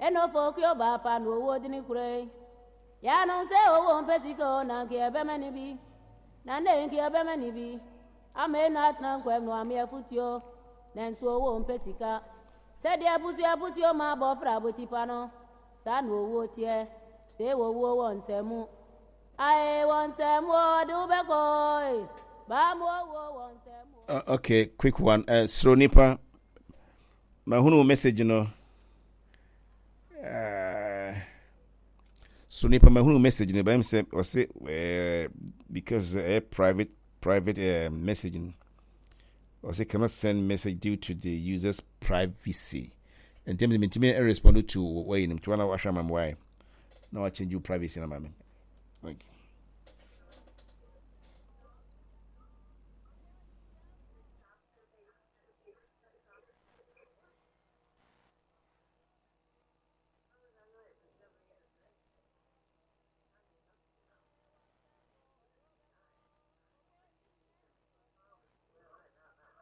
Ɛna ofo kio ba pa no owo dini kure. Ya no sɛ owo mpɛ sika o na nka ɛbɛma ne bi. Na ne nka ɛbɛma ne bi. Ama enu atena nkwam no ame afutuo. Nanso owo mpɛ sika. Sɛdeɛ abusua abusua ma abɔfra abotipa no. Saa na owuo teɛ. Sɛ owuo wɔ nsɛm Ae, wɔ nsɛm ɔde wo bɛkɔ e. Baa mu owuo wɔ nsɛm Okay, quick one. Soro nipa. Mahunu message no. So nipa mahunu message no. Bɛm sɛ ɔse because private message no. Ɔse cannot send message due to the user's privacy. Nti ɛm sɛ mentumi respond to wɔyi no. Nti wɔn a wahwɛ ama me why. Na wa change your privacy na ma me. Okay.